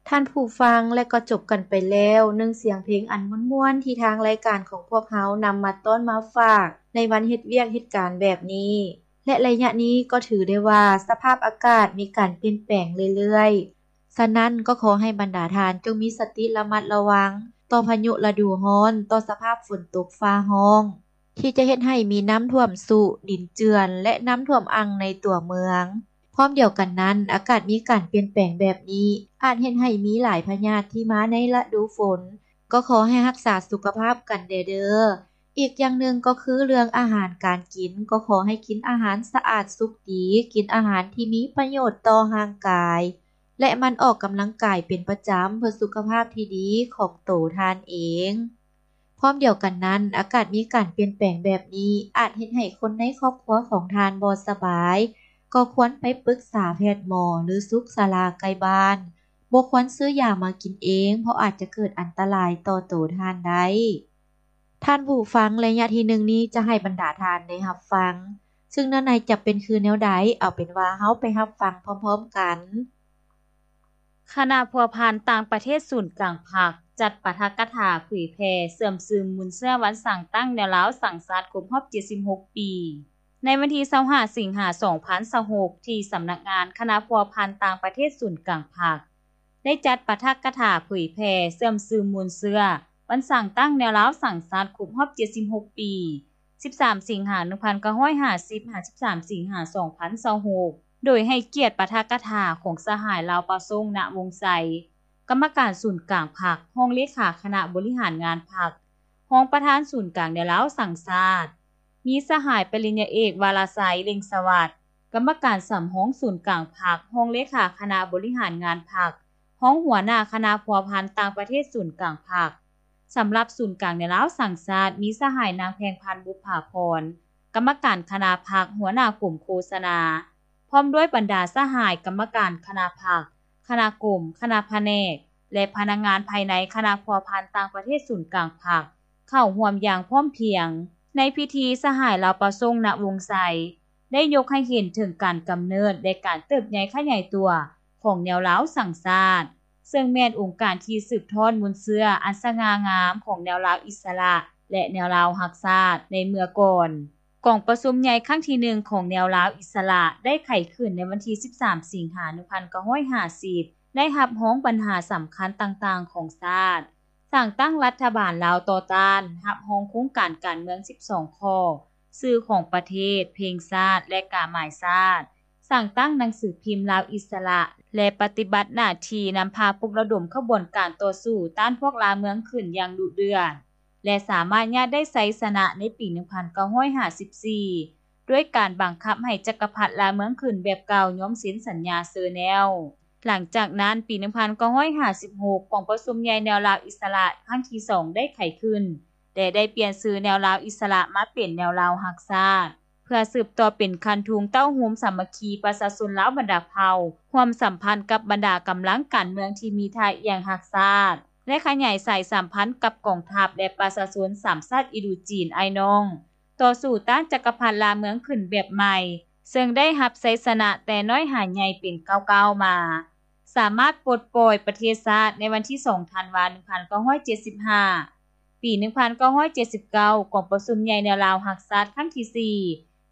ທ່ານຜູ້ຟັງ ແລະກໍຈົບກັນໄປແລ້ວ ໜຶ່ງສຽງເພງອັນມ່ວນໆ ທີ່ທາງລາຍການຂອງພວກເຮົານຳມາຕ້ອນມາຝາກ ໃນວັນເຮັດວຽກເຮັດການແບບນີ້ ແລະໄລຍະນີ້ກໍຖືໄດ້ວ່າສະພາບອາກາດມີການປ່ຽນແປງເລື້ອຍໆ. ສະນັ້ນກໍຂໍໃຫ້ບັນດາທ່ານຈົ່ງມີສະຕິລະມັດລະວັງຕໍ່ພາຍຸລະດູຮ້ອນ, ຕໍ່ສະພາບຝົນຕົກຟ້າຮ້ອງ ທີ່ຈະເຮັດໃຫ້ມີນ້ຳຖ້ວມຊຸ, ດິນເຈື່ອນ ແລະນ້ຳຖ້ວມອັ່ງໃນຕົວເມືອງ. ພ້ອມດຽວກັນນັ້ນ, ອາກາດມີການປ່ຽນແປງແບບນີ້ ອາດເຮັດໃຫ້ມີຫຼາຍພະຍາດທີ່ມາໃນລະດູຝົນ, ກໍຂໍໃຫ້ຮັກສາສຸຂະພາບກັນແດ່ເດີ້. ອີກຢ່າງໜຶ່ງກໍຄືເລື່ອງອາຫານການກິນ, ກໍຂໍໃຫ້ກິນອາຫານສະອາດສຸກດີ, ກິນອາຫານທີ່ມີປະໂຫຍດຕໍ່ຮ່າງກາຍ ແລະໝັ່ນອອກກຳລັງກາຍເປັນປະຈຳ ເພື່ອສຸຂະພາບທີ່ດີຂອງໂຕທ່ານເອງ. ພ້ອມດຽວກັນນັ້ນ, ອາກາດມີການປ່ຽນແປງແບບນີ້ ອາດເຮັດໃຫ້ຄົນໃນຄອບຄົວຂອງທ່ານບໍ່ສະບາຍ, ກໍຄວນໄປປຶກສາແພດໝໍ ຫຼືສຸກສາລາໃກ້ບ້ານ. ບໍ່ຄວນຊື້ຢາມາກິນເອງ, ເພາະອາດຈະເກີດອັນຕະລາຍຕໍ່ໂຕທ່ານໄດ້. ທ່ານຜູ້ຟັງ, ໄລຍະທີໜຶ່ງນີ້ຈະໃຫ້ບັນດາທ່ານໄດ້ຮັບຟັງ, ຊຶ່ງເນື້ອໃນຈະເປັນຄືແນວໃດ, ເອົາເປັນວ່າເຮົາໄປຮັບຟັງພ້ອມໆກັນ. ຄະນະພົວພັນຕ່າງປະເທດສູນກາງພັກ ຈັດປາຖະກະຖາເຜີຍແຜ່ເຊື່ອມຊຶມມູນເຊື້ອວັນສ້າງຕັ້ງແນວລາວສ້າງຊາດຄົບຮອບເຈັດສິບຫົກປີ ໃນວັນທີຊາວຫ້າ ສິງຫາ ສອງພັນຊາວຫົກ ທີ່ສຳນັກງານຄະນະພົວພັນຕ່າງປະເທດສູນກາງພັກ ໄດ້ຈັດປາຖະກະຖາເຜີຍແຜ່ເຊື່ອມຊຶມມູນເຊື້ອວັນສ້າງຕັ້ງແນວລາວສ້າງຊາດຄົບຮອບເຈັດສິບຫົກປີ ສິບສາມ ສິງຫາ ໜຶ່ງພັນເກົ້າຮ້ອຍຫ້າສິບ ຫາ ສິບສາມ ສິງຫາ ສອງພັນຊາວຫົກ ໂດຍໃຫ້ກຽດປາຖະກະຖາຂອງສະຫາຍ ລາວປາສົງ ນະວົງໄຊ ກຳມະການສູນກາງພັກ, ຮອງເລຂາຄະນະບໍລິຫານງານພັກ, ຮອງປະທານສູນກາງແນວລາວສ້າງຊາດ, ມີສະຫາຍປະລິນຍາເອກ ວາລະໄຊ ເລັ່ງສະຫວັດ ກຳມະການສຳຮອງສູນກາງພັກ, ຮອງເລຂາຄະນະບໍລິຫານງານພັກ, ຮອງຫົວໜ້າຄະນະພົວພັນຕ່າງປະເທດສູນກາງພັກ. ສຳລັບສູນກາງແນວລາວສ້າງຊາດ ມີສະຫາຍ ນາງ ແພງພັນ ບຸບຜາພອນ ກຳມະການຄະນະພັກ, ຫົວໜ້າກົມໂຄສະນາ, ພ້ອມດ້ວຍບັນດາສະຫາຍກຳມະການຄະນະພັກ, ຄະນະກົມ, ຄະນະພະແນກ ແລະ ພະນັກງານພາຍໃນຄະນະພົວພັນຕ່າງປະເທດສູນກາງພັກ ເຂົ້າຮ່ວມຢ່າງພ້ອມພຽງ. ໃນພິທີ, ສະຫາຍ ລາວປາສົງ ນະວົງໄຊ ໄດ້ຍົກໃຫ້ເຫັນເຖິງການກຳເນີດ ແລະ ການເຕີບໃຫຍ່ຂະຫຍາຍຕົວຂອງແນວລາວສ້າງຊາດ, ເຊິ່ງແມ່ນອົງການທີ່ສືບທອດມູນເຊື້ອອັນສະຫງ່າງາມຂອງແນວລາວອິດສະຫຼະ ແລະ ແນວລາວຮັກຊາດໃນເມື່ອກ່ອນ. ກອງປະຊຸມໃຫຍ່ຄັ້ງທີໜຶ່ງຂອງແນວລາວອິດສະຫຼະໄດ້ໄຂຂຶ້ນໃນວັນທີສິບສາມ ສິງຫາ ໜຶ່ງພັນເກົ້າຮ້ອຍຫ້າສິບ ໄດ້ຮັບຮອງບັນຫາສຳຄັນຕ່າງໆຂອງຊາດ, ສ້າງຕັ້ງລັດຖະບານລາວຕໍ່ຕ້ານ, ຮັບຮອງໂຄງການການເມືອງສິບສອງຂໍ້, ຊື່ຂອງປະເທດ, ເພງຊາດ ແລະ ກາໝາຍຊາດ, ສ້າງຕັ້ງໜັງສືພິມລາວອິດສະຫຼະ ແລະ ປະຕິບັດໜ້າທີ່ນຳພາປຸກລະດົມຂະບວນການຕໍ່ສູ້ຕ້ານພວກລ່າເມືອງຂຶ້ນຢ່າງດຸເດືອດ ແລະ ສາມາດຍາດໄດ້ໄຊຊະນະໃນປີໜຶ່ງພັນເກົ້າຮ້ອຍຫ້າສິບສີ່ ດ້ວຍການບັງຄັບໃຫ້ຈັກກະພັດລ່າເມືອງຂຶ້ນແບບເກົ່າຍອມເຊັນສັນຍາເຊີແນວ. ຫຼັງຈາກນັ້ນ, ປີໜຶ່ງພັນເກົ້າຮ້ອຍຫ້າສິບຫົກ ກອງປະຊຸມໃຫຍ່ແນວລາວອິດສະຫຼະຄັ້ງທີສອງໄດ້ໄຂຂຶ້ນ ແລະ ໄດ້ປ່ຽນຊື່ແນວລາວອິດສະຫຼະມາເປັນແນວລາວຮັກຊາດ ເພື່ອສືບຕໍ່ເປັນຄັນທຸງເຕົ້າໂຮມສາມັກຄີປະຊາຊົນລາວບັນດາເຜົ່າ, ຮ່ວມສຳພັນກັບບັນດາກຳລັງການເມືອງທີ່ມີທ່າອ່ຽງຮັກຊາດ ແລະ ຂະຫຍາຍສາຍສຳພັນກັບກອງທັບ ແລະ ປະຊາຊົນສາມຊາດອິນດູຈີນອ້າຍນ້ອງ, ຕໍ່ສູ້ຕ້ານຈັກກະພັດລ່າເມືອງຂຶ້ນແບບໃໝ່, ເຊິ່ງໄດ້ຮັບໄຊຊະນະແຕ່ນ້ອຍຫາໃຫຍ່ເປັນກ້າວໆມາ, ສາມາດປົດປ່ອຍປະເທດຊາດໃນວັນທີສອງ ທັນວາ ໜຶ່ງພັນເກົ້າຮ້ອຍເຈັດສິບຫ້າ. ປີໜຶ່ງພັນເກົ້າຮ້ອຍເຈັດສິບເກົ້າ ກອງປະຊຸມໃຫຍ່ແນວລາວຮັກຊາດຄັ້ງທີສີ່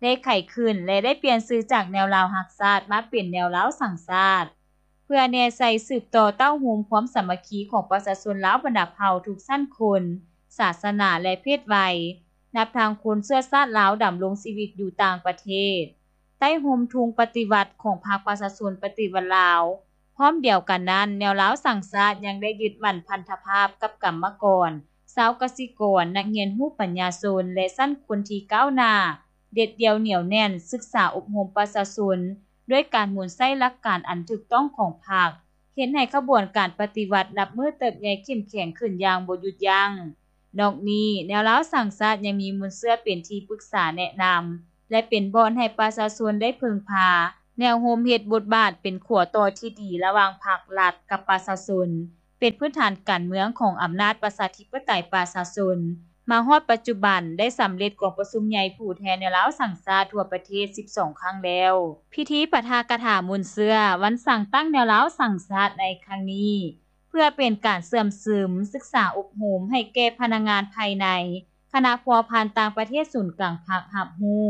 ໄດ້ໄຂຂຶ້ນ ແລະ ໄດ້ປ່ຽນຊື່ຈາກແນວລາວຮັກຊາດມາເປັນແນວລາວສ້າງຊາດ ເພື່ອແນໃສ່ສືບຕໍ່ເຕົ້າໂຮມຄວາມສາມັກຄີຂອງປະຊາຊົນລາວບັນດາເຜົ່າທຸກຊັ້ນຄົນ, ສາສະໜາ ແລະ ເພດໄວ, ນັບທັງຄົນເຊື້ອຊາດລາວດຳລົງຊີວິດຢູ່ຕ່າງປະເທດ, ໃຕ້ຮົ່ມທຸງປະຕິວັດຂອງພັກປະຊາຊົນປະຕິວັດລາວ. ພ້ອມດຽວກັນນັ້ນ, ແນວລາວສ້າງຊາດຍັງໄດ້ຍຶດໝັ້ນພັນທະພາບກັບກຳມະກອນ, ຊາວກະສິກອນ, ນັກຮຽນຮູ້ປັນຍາຊົນ ແລະ ຊັ້ນຄົນທີ່ກ້າວໜ້າ, ເດັດດ່ຽວໜຽວແໜ້ນ, ສຶກສາອົບຮົມປະຊາຊົນ ດ້ວຍການໝູນໃຊ້ຫຼັກການອັນຖືກຕ້ອງຂອງພັກ, ເຮັດໃຫ້ຂະບວນການປະຕິວັດນັບມື້ເຕີບໃຫຍ່ເຂັ້ມແຂງຂຶ້ນຢ່າງບໍ່ຢຸດຢັ້ງ. ນອກນີ້, ແນວລາວສ້າງຊາດຍັງມີມູນເຊື້ອເປັນທີ່ປຶກສາແນະນຳ ແລະ ເປັນບ່ອນໃຫ້ປະຊາຊົນໄດ້ເພິ່ງພາ, ແນວໂຮມເຮັດບົດບາດເປັນຂົວຕໍ່ທີ່ດີລະຫວ່າງພັກລັດກັບປະຊາຊົນ, ເປັນພື້ນຖານການເມືອງຂອງອຳນາດປະຊາທິປະໄຕປະຊາຊົນ. ມາຮອດປັດຈຸບັນ, ໄດ້ສຳເລັດກອງປະຊຸມໃຫຍ່ຜູ້ແທນແນວລາວສ້າງຊາດທົ່ວປະເທດສິບສອງຄັ້ງແລ້ວ. ພິທີປາຖະກະຖາມູນເຊື້ອວັນສ້າງຕັ້ງແນວລາວສ້າງຊາດໃນຄັ້ງນີ້ ເພື່ອເປັນການເຊື່ອມຊຶມ, ສຶກສາອົບຮົມໃຫ້ແກ່ພະນັກງານພາຍໃນຄະນະພົວພັນຕ່າງປະເທດສູນກາງພັກຮັບຮູ້,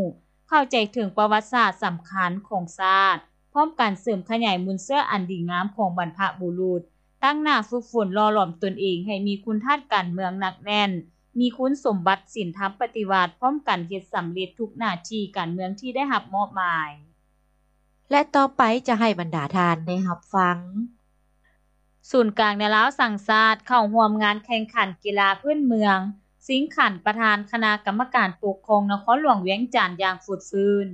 ເຂົ້າໃຈເຖິງປະຫວັດສາດສຳຄັນຂອງຊາດ, ພ້ອມກັນເສີມຂະຫຍາຍມູນເຊື້ອອັນດີງາມຂອງບັນພະບຸລຸດ, ຕັ້ງໜ້າຝຶກຝົນຫຼໍ່ຫຼອມຕົນເອງໃຫ້ມີຄຸນທາດການເມືອງໜັກແໜ້ນ, ມີຄຸນສົມບັດສິນທຳປະຕິວັດ, ພ້ອມກັນເຮັດສຳເລັດທຸກໜ້າທີ່ການເມືອງທີ່ໄດ້ຮັບມອບໝາຍ. ແລະ ຕໍ່ໄປຈະໃຫ້ບັນດາທ່ານໄດ້ຮັບຟັງ. ສູນກາງແນວລາວສ້າງຊາດເຂົ້າຮ່ວມງານແຂ່ງຂັນກິລາພື້ນເມືອງ ຊິງຂັນປະທານຄະນະກຳມະການປົກຄອງນະຄອນຫຼວງວຽງຈັນຢ່າງຟົດຟື້ນ.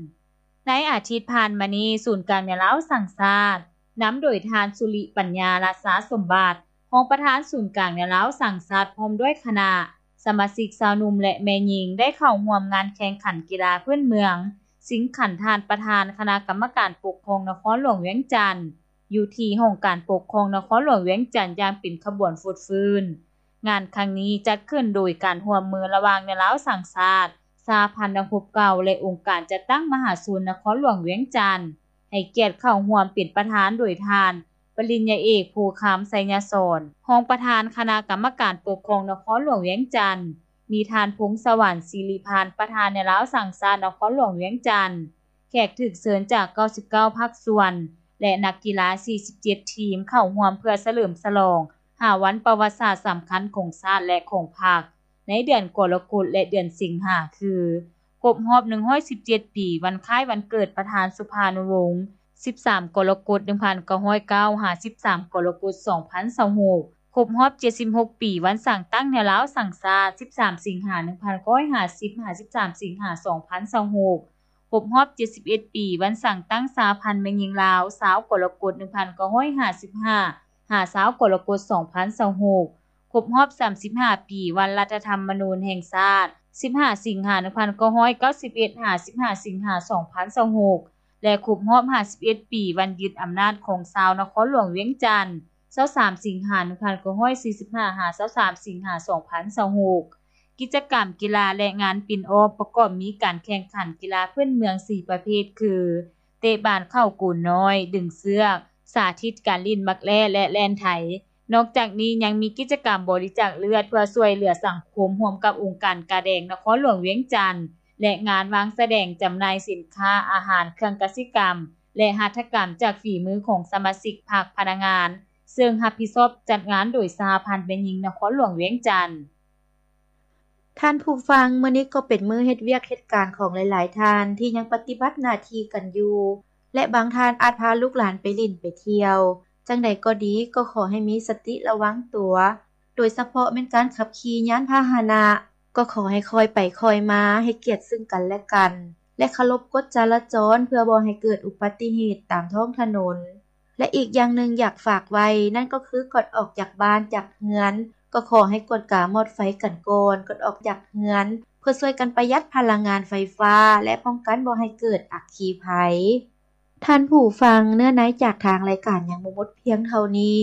ໃນອາທິດຜ່ານມານີ້, ສູນກາງແນວລາວສ້າງຊາດ ນຳໂດຍທ່ານ ສຸລິປັນຍາ ລາຊາສົມບັດ, ຮອງປະທານສູນກາງແນວລາວສ້າງຊາດ ພ້ອມດ້ວຍຄະນະ ສະມາຊິກຊາວໜຸ່ມ ແລະ ແມ່ຍິງ ໄດ້ເຂົ້າຮ່ວມງານແຂ່ງຂັນກິລາພື້ນເມືອງ ຊິງຂັນທ່ານປະທານຄະນະກຳມະການປົກຄອງນະຄອນຫຼວງວຽງຈັນ ຢູ່ທີ່ຫ້ອງການປົກຄອງນະຄອນຫຼວງວຽງຈັນຢ່າງເປັນຂະບວນຟົດຟື້ນ. ງານຄັ້ງນີ້ຈັດຂຶ້ນໂດຍການຮ່ວມມືລະຫວ່າງແນວລາວສ້າງຊາດ, ສະຫະພັນນັກຮົບເກົ່າ ແລະ ອົງການຈັດຕັ້ງມະຫາຊົນນະຄອນຫຼວງວຽງຈັນ, ໃຫ້ກຽດເຂົ້າຮ່ວມເປັນປະທານໂດຍທ່ານ ປະລິນຍາເອກ ພູຄຳ ໄຊຍະສອນ, ຮອງປະທານຄະນະກຳມະການປົກຄອງນະຄອນຫຼວງວຽງຈັນ, ມີທ່ານ ພົງສະຫວັນ ສິລິພັນ ປະທານແນວລາວສ້າງຊາດນະຄອນຫຼວງວຽງຈັນ, ແຂກຖືກເຊີນຈາກເກົ້າສິບເກົ້າພາກສ່ວນ ແລະ ນັກກິລາສີ່ສິບເຈັດທີມເຂົ້າຮ່ວມເພື່ອສະເຫຼີມສະຫຼອງຫ້າວັນປະຫວັດສາດສຳຄັນຂອງຊາດ ແລະ ຂອງພັກ ໃນເດືອນກໍລະກົດ ແລະ ເດືອນສິງຫາ ຄື ຄົບຮອບໜຶ່ງຮ້ອຍສິບເຈັດປີ ວັນຄ້າຍວັນເກີດປະທານສຸພານຸວົງ ສິບສາມ ກໍລະກົດ ໜຶ່ງພັນເກົ້າຮ້ອຍເກົ້າ ຫາ ສິບສາມ ກໍລະກົດ ສອງພັນຊາວຫົກ, ຄົບຮອບເຈັດສິບຫົກປີ ວັນສ້າງຕັ້ງແນວລາວສ້າງຊາດ ສິບສາມ ສິງຫາ ໜຶ່ງພັນເກົ້າຮ້ອຍຫ້າສິບ ຫາ ສິບສາມ ສິງຫາ ສອງພັນຊາວຫົກ, ຄົບຮອບເຈັດສິບເອັດປີ ວັນສ້າງຕັ້ງສະຫະພັນແມ່ຍິງລາວ ຊາວ ກໍລະກົດ ໜຶ່ງພັນເກົ້າຮ້ອຍຫ້າສິບຫ້າ ຫາ ຊາວ ກໍລະກົດ ສອງພັນຊາວຫົກ, ຄົບຮອບສາມສິບຫ້າປີ ວັນລັດຖະທຳມະນູນແຫ່ງຊາດ ສິບຫ້າ ສິງຫາ ໜຶ່ງພັນເກົ້າຮ້ອຍເກົ້າສິບເອັດ ຫາ ສິບຫ້າ ສິງຫາ ສອງພັນຊາວຫົກ ແລະ ຄົບຮອບຫ້າສິບເອັດປີ ວັນຍຶດອຳນາດຂອງຊາວນະຄອນຫຼວງວຽງຈັນ ຊາວສາມ ສິງຫາ ໜຶ່ງພັນເກົ້າຮ້ອຍສີ່ສິບຫ້າ ຫາ ຊາວສາມ ສິງຫາ ສອງພັນຊາວຫົກ. ກິດຈະກຳກິລາ ແລະ ງານປິ່ນອ້ອມ ປະກອບມີການແຂ່ງຂັນກິລາພື້ນເມືອງສີ່ປະເພດ ຄື ເຕະບານເຂົ້າໂກນນ້ອຍ, ດຶງເຊືອກ, ສາທິດການຫຼິ້ນໝາກແລ້ ແລະ ແລ່ນໄທ. ນອກຈາກນີ້ຍັງມີກິດຈະກຳບໍລິຈາກເລືອດເພື່ອຊ່ວຍເຫຼືອສັງຄົມ ຮ່ວມກັບອົງການກາແດງນະຄອນຫຼວງວຽງຈັນ ແລະ ງານວາງສະແດງຈຳໜ່າຍສິນຄ້າ, ອາຫານ, ເຄື່ອງກະສິກຳ ແລະ ຫັດຖະກຳຈາກຝີມືຂອງສະມາຊິກພັກ, ພະນັກງານ, ເຊິ່ງຮັບຜິດຊອບຈັດງານໂດຍສະຫະພັນແມ່ຍິງນະຄອນຫຼວງວຽງຈັນ. ທ່ານຜູ້ຟັງ, ມື້ນີ້ກໍເປັນມື້ເຮັດວຽກເຮັດການຂອງຫຼາຍໆທ່ານທີ່ຍັງປະຕິບັດໜ້າທີ່ກັນຢູ່ ແລະ ບາງທ່ານອາດພາລູກຫຼານໄປຫຼິ້ນໄປທ່ຽວ. ຈັ່ງໃດກໍດີ, ກໍຂໍໃຫ້ມີສະຕິລະວັງຕົວ, ໂດຍສະເພາະແມ່ນການຂັບຂີ່ຍານພາຫະນະ, ກໍຂໍໃຫ້ຄ່ອຍໄປຄ່ອຍມາ, ໃຫ້ກຽດເຊິ່ງກັນແລະກັນ ແລະ ເຄົາລົບກົດຈະລາຈອນ ເພື່ອບໍ່ໃຫ້ເກີດອຸບັດຕິເຫດຕາມທ້ອງຖະໜົນ. ແລະ ອີກຢ່າງໜຶ່ງຢາກຝາກໄວ້ ນັ້ນກໍຄືກ່ອນອອກຈາກບ້ານຈາກເຮືອນ ກໍຂໍໃຫ້ກວດກາມອດໄຟກັນກ່ອນ ກ່ອນອອກຈາກເຮືອນ ເພື່ອຊ່ວຍກັນປະຢັດພະລັງງານໄຟຟ້າ ແລະ ປ້ອງກັນບໍ່ໃຫ້ເກີດອັກຄີໄພ. ທ່ານຜູ້ຟັງ, ເນື້ອໃນຈາກທາງລາຍການຍັງບໍ່ໝົດພຽງເທົ່ານີ້,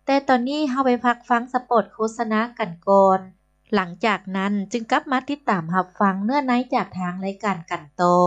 ແຕ່ຕອນນີ້ເຮົາໄປພັກຟັງສະປອດໂຄສະນາກັນກ່ອນ. ຫຼັງຈາກນັ້ນຈຶ່ງກັບມາຕິດຕາມຮັບຟັງເນື້ອໃນຈາກທາງລາຍການກັນຕໍ່.